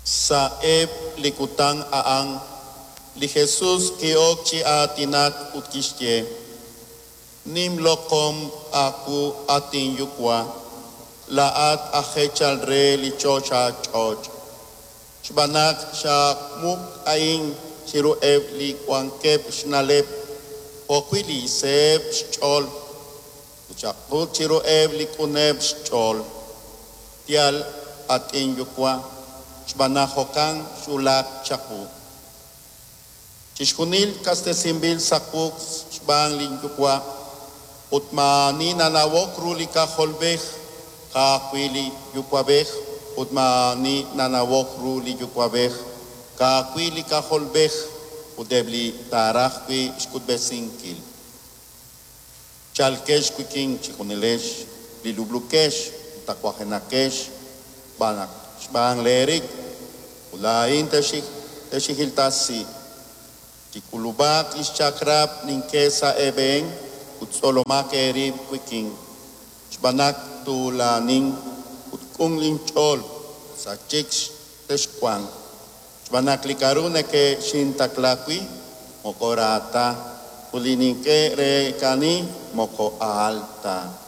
Sa'eb' li kutan a'an, li Jesus ki'ok chi aatinak ut kixye, Nim loq'om aawu, at inYuwa', laa'at aj eechal re li choxach'och', xb'aan naq xamuq a'in chiruheb' li wankeb' xna'leb' jo'wi' li seeb' xch'ool, ut xak'ut chiruheb' li q'uneb' xch'ool. Yaal, at inYuwa', xb'aan naq jo'kan xwulak chawu. Chixjunil kastesinb'il sa' wuq' xb'aan linYuwa', ut maa'ani nanawok ru li K'ajolb'ej, ka'ajwi' li Yuwa'b'ej, ut maa'ani nanawok ru li Yuwa'b'ej, ka'ajwi' li K'ajolb'ej ut eb' li taaraj wi' xk'utb'esinkil. Chalqex wik'in chejunilex li lub'lukex ut tawajenaqex xb'aan naq xb'aan leerik, ut laa'in texinjiltasi. Chik'ulub'aq li xchaq'rab' nink'e sa' eeb'een ut tzolomaq eerib' wik'in, xb'aan naq tuulanin ut q'un linch'ool, sa chik texwanq. Xb'aan naq li k'aru neke'xintaqla wi' moko ra ta, ut li nink'e reekani moko aal ta.